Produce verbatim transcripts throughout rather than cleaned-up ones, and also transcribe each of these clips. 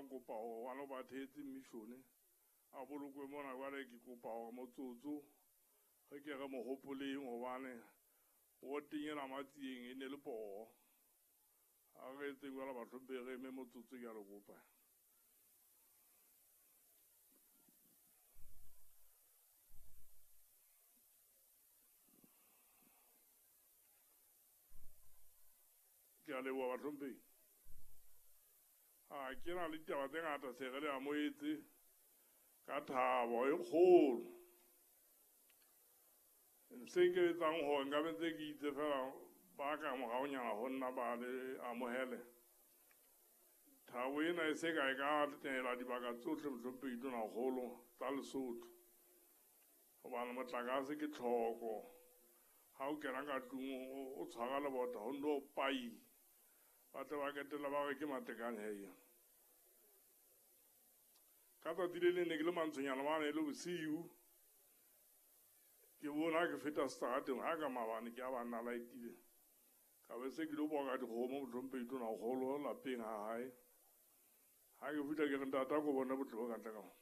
ba nkopa hore ngwana ba thetse mission a bolokwe mona jwale ke kopa hore motsotso re ke re mo hopoleng hobane woteng ena Matsieng e ne le poho. Ha re etse jwalo bahlomphehi re eme motsotso ke a le kopa. Ke a leboha bahlomphehi. Ha ke na le ditaba tse ngata se re le amohetse ka thabo e kgolo. Se nke etsang hore nka be ntse ke itse fela ba ka moraonyana ho nna ba le amohele. Thabo ena e se ka e ka tela dibaka tsohle mohlomphehi Tonakgolo tsa Lesotho. Hobane motlakase ke tlhoko. Ha o kena ka tlung o tshwara lebota ho nto pai. Ba tle ba ketela ba re ke matekane hei. Ka tsatsi le leng ne ke le mantshonyana mane e le bosiu. Ke bona ke feta seterateng ha ka maobane ke a banna laetile. Ka be se ke lo boka dikgomo mohlomphehi Tonakgolo lapeng ha hae. Ha ke fihla ke re ntate a ko bone botle bo ka ntle ka mo.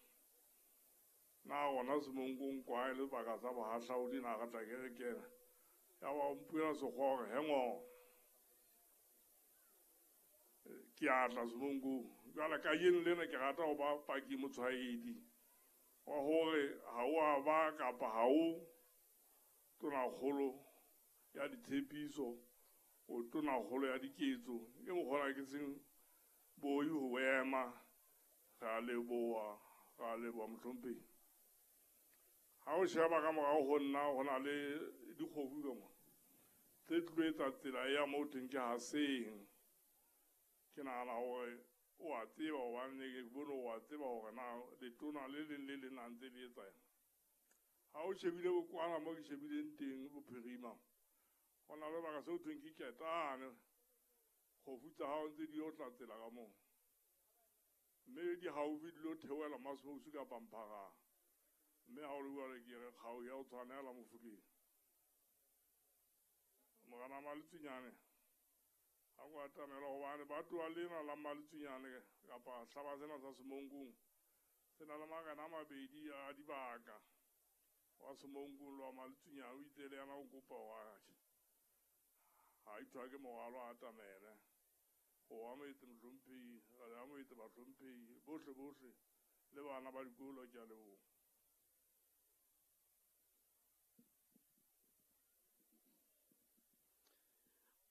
Na gona Semonkong kwa e le sebaka sa bohahlaudi na re tla ke re kena. Ya ba o mpuela sekgowa hore he ngo. Ke a tla Semonkong. Jwale kajeno lena ke rata ho ba paki motshwaedi wa hore ha o a ba kapa ha o Tonakgolo ya ditshepiso, o Tonakgolo ya diketso. Ke mokgwa ke seng boi ho ema. Re a leboha, re a leboha mohlomphehi. Ha o sheba ka morao ho nna ho na le dikgofu ka mona tse tlilo etsa tsela ya moo teng ke Haseng. Ke nahana hore o a tseba hobane ke bone o a tseba hore na letona le leng le leng a ntse le etsa eng. Ha o shebile bokwana mo ke shebileng teng bophirima, ho na le sebaka seo thweng ke Ketane. Kgofu tsa hao ntse di yo tla tsela ka moo. Mme di haufi di lo theohela Masmousu kapa Mpharang. Mme ha o le jwalo ke re kgau ya o tshwanela Mofokeng. Morena Maletsunyane ha ko atamela hobane ba tloha lena la Maletsunyane kapa hlaba sena sa Semonkong se na le marena a mabedi a dibaka. Wa Semonkong le wa Maletsunyane o itse le yena o kopa hore ha ithwa ke morwalo a atamele. O amohetse mohlomphehi, re amohetse bahlomphehi bohle bohle le bana ba dikolo ke a leboha.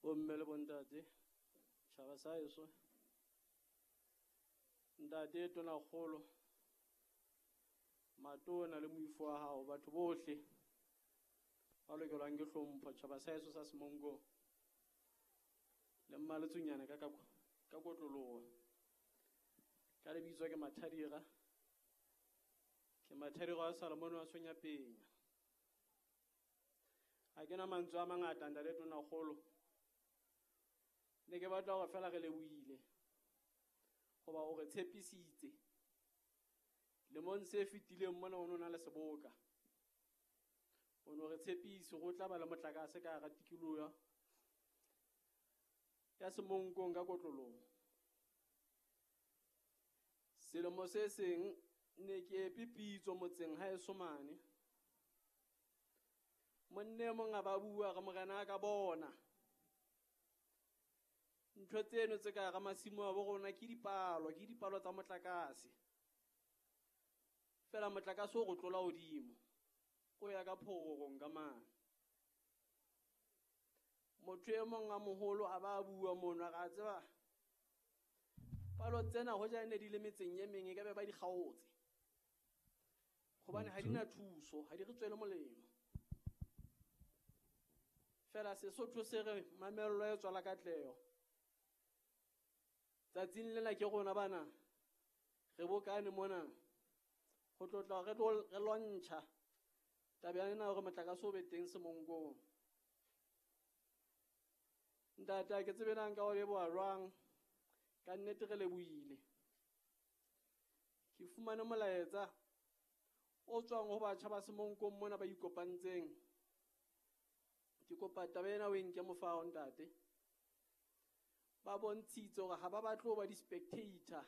Bomme le bontate, tjhaba sa heso, ntate Tonakgolo, matona le moifo wa hao, batho bohle ba lokelwang ke hlompho, tjhaba sa heso sa Semonkong le Mmaletsunyane ka ka ka kotloloho. Ka lebitso ke Mathadira, ke Mathadira wa Salomone wa Sonyapenya. Ha ke na mantswe a mangata ntate Tonakgolo. Ne ke batla hore fela re lebohile hoba o re tshepisitse. Lemong se fetileng mona o no na le seboka. O no re tshepise hore o tla ba le motlakase ka hara tikoloho ya Semonkong ka kotloloho. Selemo se seng ne ke epe pitso motseng haeso mane. Monne e mong a ba bua re morena a ka bona. Ntho tseno tse ka hara masimo a bo rona ke dipalo, ke dipalo tsa motlakase. Fela motlakase o re tlola hodimo, o ya ka phororong ka mane. Motho e mong a moholo a ba bua mono a re a tseba palo tsena hoja ne di le metseng e meng e ka be ba di kgaotse. Hobane ha di na thuso, ha di re tswele molemo. Fela Sesotho se re mamello e tswala katleho. Tsatsing lena ke rona bana re bokane mona ho tlotla re tlo re lwantsha taba ena hore motlakase o be teng Semonkong. Ntate ha ke tsebe na nka o leboha jwang, ka nnete re lebohile. Ke fumane molaetsa o tswang ho batjha ba Semonkong mona ba ikopantseng. Ke kopa taba ena o e nke mofao ntate. Ba bontshitse hore ha ba batle ho ba di-spectator